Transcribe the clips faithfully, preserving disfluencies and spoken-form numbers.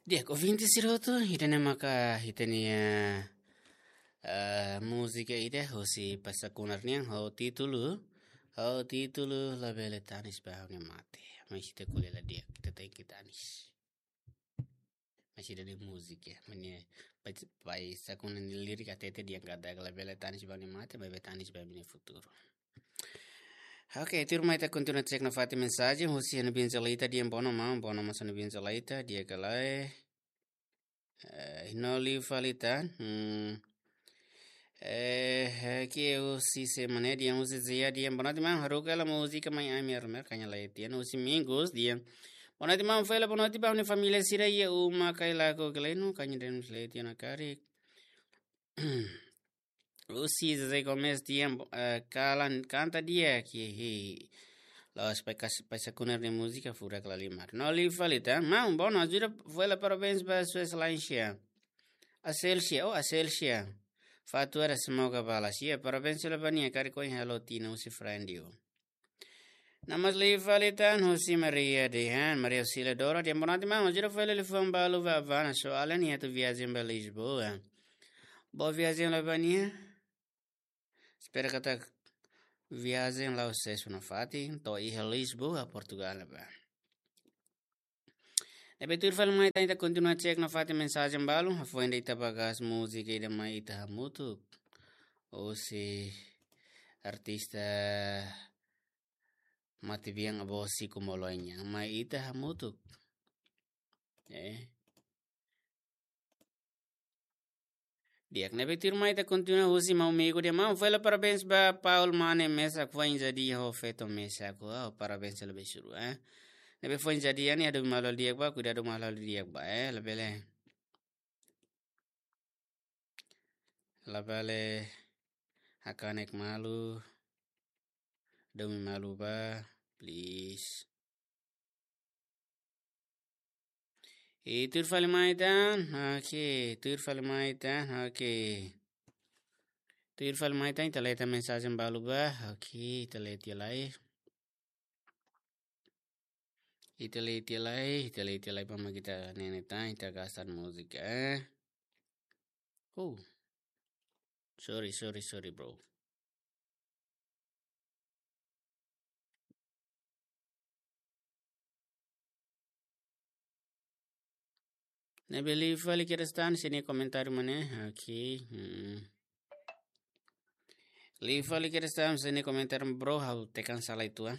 Di'ak, ouvinte sira hotu, ida-ne'e maka ita-nia, eh, múzika ida husi Pais Sakunar nian, ho títulu, ho títulu Labele Tanis ba Ha'u-nia Mate. Mas ita ko'alia la di'ak, ita tenke tanis. Mas ida-ne'e múzika, mane Pais, Pais Sakunar nia lirik hatete dehan katak labele tanis ba ha'u-nia mate, maibé tanis ba ha'u-nia futuru. Oke, tuirmai ita kontinua cek nafatin mensajen husi Ana Binzalaita, dehan bono maun, bono maun Ana Binzalaita, di'ak ka lae. Eh, no liu fali tan. Hmm. Eh, eh, ke husi sé mane, dehan husi Zia, dehan bono timan haruka hela múzika Mai Ami Armer, kaña lae tian husi Mingus, dehan bono timan fela, bono timan família sira iha uma Kailaku Gleno, kaña den lae tian karik. Husi José Gomes dehan, eh, kalan kanta di'ak, hi, hi. La'ós Pais kas-, Pais Sakunar nia múzika furak lahalimar. No liu fali tan. Maun, bono ajuda fela parabéns ba sua exelénsia. Aselsia, oh, Aselsia. Fatuera semoga balas. Ya, parabéns fela ba nia, karik ohin halo tinan husi Frandio. No mós liu fali tan husi Maria dehan, Maria Auxiliadora dehan bono timan, ajuda fela liafuan balu ba Havana, soalnya nia atu viajen ba Lisboa. Boa viajen lai ba nia. Espera katak viajen la'o sees nafatin, to'o iha Lisboa, Portugal ne'ebá. Ne'ebé tuir fali mai tan, ita kontinua cek nafatin mensajen balu, hafoin ida ita bá gas múzika ida Mai Ita Hamutuk. Husi artista matebian Avó Chico Molonha, Mai Ita Hamutuk. Eh. Di'ak, ne'ebé tuirmai ita kontinua husi maun Migo dehan maun fela parabéns ba Paul Mane Mesak foin jadi ho feto Mesak. Wow, parabéns lebih suru, eh. Ne'ebé foin jadi nian, hadomi malu di'ak bá, kuidadu malu di'ak bá, eh, labele. Labele hakanek malu, hadomi malu bá, please. I tuir fali mai tan, oke, tuir fali mai tan, oke. Tuir fali mai tan, ita lee tan mensajen balu bá, oke, ita lee tiha lai. Ita lee tiha lai, ita lee tiha lai, pa mak ita nene tan, ita gas tan múzika, eh. Oh. Sorry, sorry, sorry, bro. Ne'ebé liu fali kedas tan, sira-nia komentáriu mane. Oke. Hmm. Liu fali kedas tan, sira-nia komentáriu, bro, ha'u tekan sala uitoan.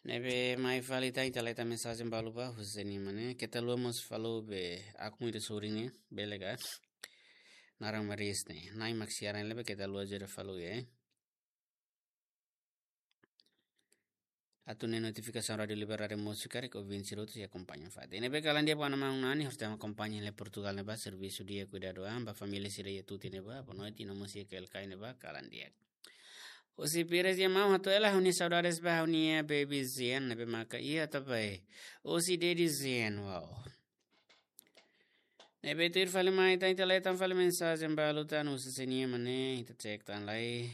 Ne'ebé mai fali tan, ita lee tan mensajen balu bá, husi ne'e mane. Keta haluha mós follow be akun ida sorin ne'e, bele ka? Naran Maris ne'e. Nai mak siaran lebe, keta haluha ajuda follow ya, eh. Atu ne'e notifikasaun Rádiu Liberdade Múzika, karik ouvinte sira hotu sei akompaña fatin. Ne'ebé kalan di'ak ba maun Nani, hotu akompaña iha Portugal ne'ebá, servisu di'ak, kuidadu an ba família sira iha Tuti ne'ebá, boa noite, no mós iha K L K ne'ebá, kalan di'ak. Husi Pires dehan maun, hato'o hela ha'u-nia saudades ba ha'u-nia baby Zen, ne'ebé maka iha ita bá. Husi Dedi Zen, wow. Ne'ebé tuir fali mai tan, ita lee tan fali mensajen balu tan, husi sira-nia mane, ita cek tan lai.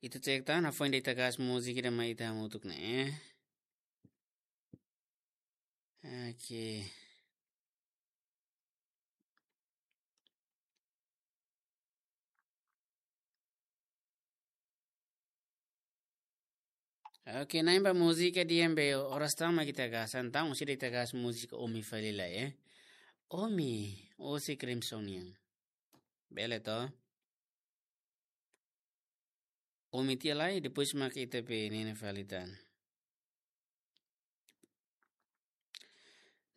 Ita cek tan, hafoin ida ita gas múzika ida Mai Ita Hamutuk ne'e. Oke. Oke, na'in ba múzika dehan be oras tama ita gas, entaun sira ita gas múzika Omi fali lai, eh. Omi, husi Crimson nian. Bele to? Omi tiha lai, depois mak ita bá nene fali tan.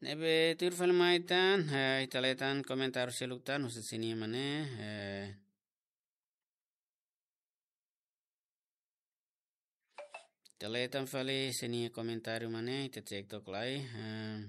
Ne'ebé tuir fali mai tan, eh, ita lee tan komentáriu seluk tan, husi sira-nia mane, eh, ita lee tan fali sira-nia komentáriu mane, ita cek took lai, eh,